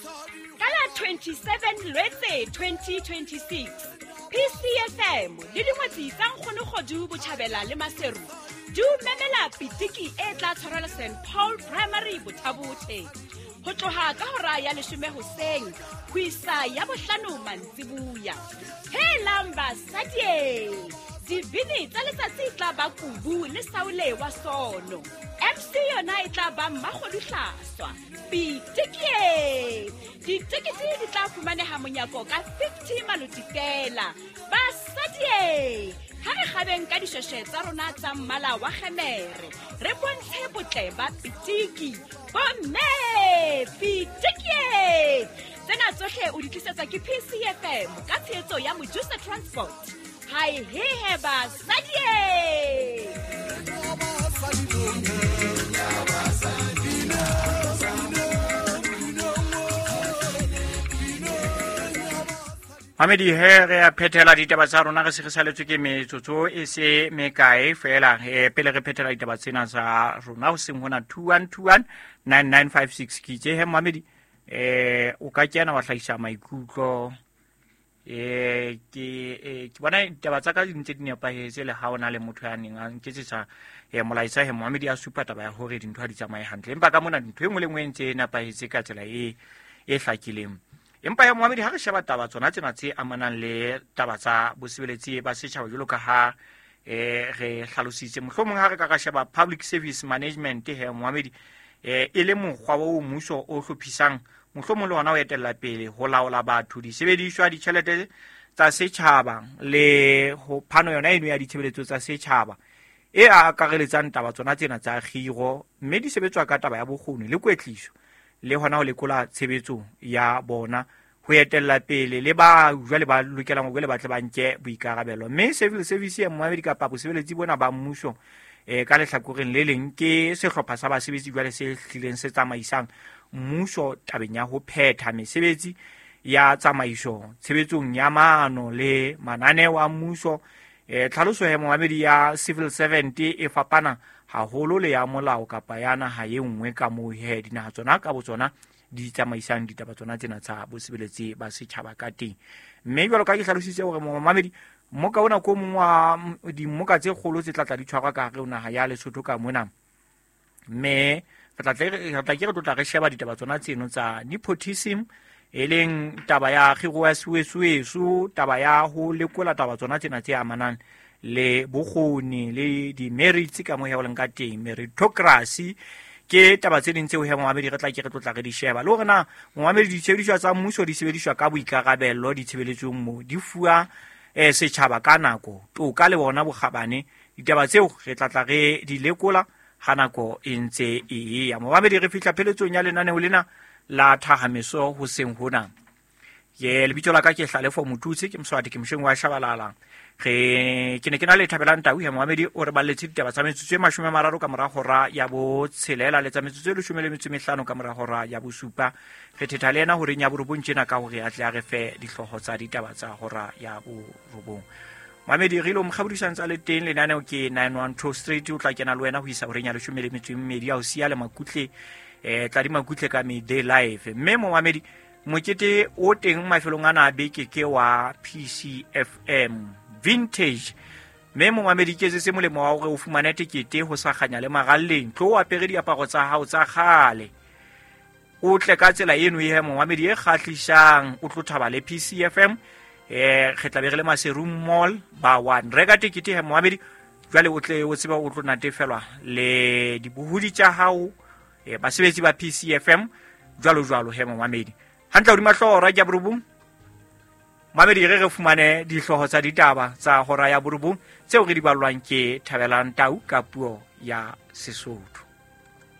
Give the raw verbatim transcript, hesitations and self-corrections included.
Ka la twenty-seven Lwetse twenty twenty-six, P C F M le dingwetsi tsa Nkgono Kgodu Botjhabela le Maseru di o memela pitiki e tla tshwarelwa Saint Paul Primary Bothabothe ho tloha ka hora ya leshome hoseng ho isa ya bohlano mantsibuya. Helang basadi, dibini tsa letsatsi e tla ba Kubu le Saule wa Sono. M C yona e tla ba Mmakgodu Hlaswa. Pitiki! Ditekete di tla fumaneha monyako ka fifty maloti fela. Basadi, ha re kgabeng ka dishweshwe tsa rona tsa mmala wa kgemere, re bontshe botle ba pitiki. Bomme, pitiki! Tsena tsohle o di tlisetswa ke P C F M ka tshehetso ya Mojusa Transport. Hai he he basadi! Mamedi he re a phethela ditaba tsa rona, re se re saletswe ke metsotso e se mekae fela. Eh, pele re phethela ditaba tsena tsa rona ho seng hona two one two one nine nine five six ke itse he Mamedi, eh, o ka kena wa hlahisa maikutlo. Eh, ke, eh, ke bona ditaba tsa ka di ntse di nepahetse le ha ona le motho ya neng a nketsetsa, eh, molaetsa he Mohamedi a supa taba ya hore dintho ha di tsamaye hantle, empa ka mona ntho e nngwe le nngwe e ntse e nepahetse ka tsela e, e hlakileng. Empa ya Mohamedi ha re sheba taba tsona tsena tse amanang le taba tsa bosebeletsi ba setjhaba jwalo ka ha, eh, re hlalositse, mohlomong ha re ka ra sheba public service management he Mohamedi, eh, e le mokgwa o mmuso o hlophisang, mohlomong le hona o etella pele ho laola batho, disebediswa, ditjhelete tsa setjhaba le ho phano yona eno ya ditshebeletso tsa setjhaba e akareletsang taba tsona tsena tsa kgiro, mme di sebetswa ka taba ya bokgoni le kwetliso le hona ho lekola tshebetso ya bona ho etella pele le ba jwale ba lokelang hore ba tle ba nke boikarabelo. Mme civil service ya Mohamedi kapa bosebeletsi bona ba mmuso, eh, ka lehlakoreng le leng ke sehlopha sa basebetsi jwale se hlileng se tsamaisang mmuso tabeng ya ho phetha mesebetsi ya tsamaiso tshebetsong ya maano le mananeo a mmuso. Eh, tlhaloso ya Mohamedi ya civil servant e fapana haholo le ya molao kapa ya naha e nngwe ka moo he dinaha tsona ka botsona di tsamaisang ditaba tsona tsena tsa bosebeletsi ba setjhaba ka teng. Mme jwalo ka ke hlalositse hore Mohamedi mmoka ona ko mong wa dimmoka tse kgolo tse tla tla di tshwarwa ka hare ho naha ya Lesotho ka mona, mme re tla tle re, re tla ke re tlotla re sheba ditaba tsona tseno tsa nepotism, e leng taba ya kgiro ya suesuesu, taba ya ho lekola taba tsona tsena tse amanang le bokgoni le di-merits ka moo he ho leng ka teng, meritocracy ke taba tse ding tseo he Mohamedi re tla ke re tlotla re di sheba. Le hore na Mohamedi ditshebediswa tsa mmuso di sebediswa ka boikarabelo ditshebeletsong moo di fuwa, eh, setjhaba ka nako, toka le bona bokgabane. Ditaba tseo re tla tla re di lekola ha nako e ntse e eya. Mohamedi re fihla pheletsong ya lenaneo lena la Thahameso hoseng hona. Ke lebitso la ka ke Hlalefo Motutsi, ke Moswati, ke mosheng wa Shabalala. Re ke ne ke na le Thabelang Tau he Mohamedi o re balletse ditaba tsa metsotso e mashome a mararo ka mora hora ya botshelela le tsa metsotso e leshome le metso e mehlano ka mora hora ya bosupa. Re thetha le yena horeng ya borobong tjena ka hore a tle a re fe dihlooho tsa ditaba tsa hora ya borobong. Mohamedi re ilo mokgabodisang tsa le teng lenaneo ke nine one two Street, o tla kena le wena ho isa horeng ya leshome le metso e mmedi ya ho siya le makutle, eh, tla di makutle ka midday live. Mme Mohamedi mokete o teng mafelong ana a beke ke wa P C F M Vintage. Mme Mohamedi ke se molemo wa hore o fumane tekete ho sa kganya le maralleng, tlo o apere diaparo tsa hao tsa kgale, o tle ka tsela eno e he Mohamedi e kgahlisang, o tlo thaba le P C F M. Eh, re tla be re le Maseru Mall ba one. Reka tekete he Mohamedi jwale o tle o tsebe o tlo natefelwa le dibohodi tsa hao, eh, basebetsi ba P C F M jwalo jwalo he Mohamedi. Hantle hodima hlooho hora ya borobong, Mohamedi re re fumane dihlooho tsa ditaba tsa hora ya borobong tseo re di ballwang ke Thabelang Tau ka puo ya Sesotho.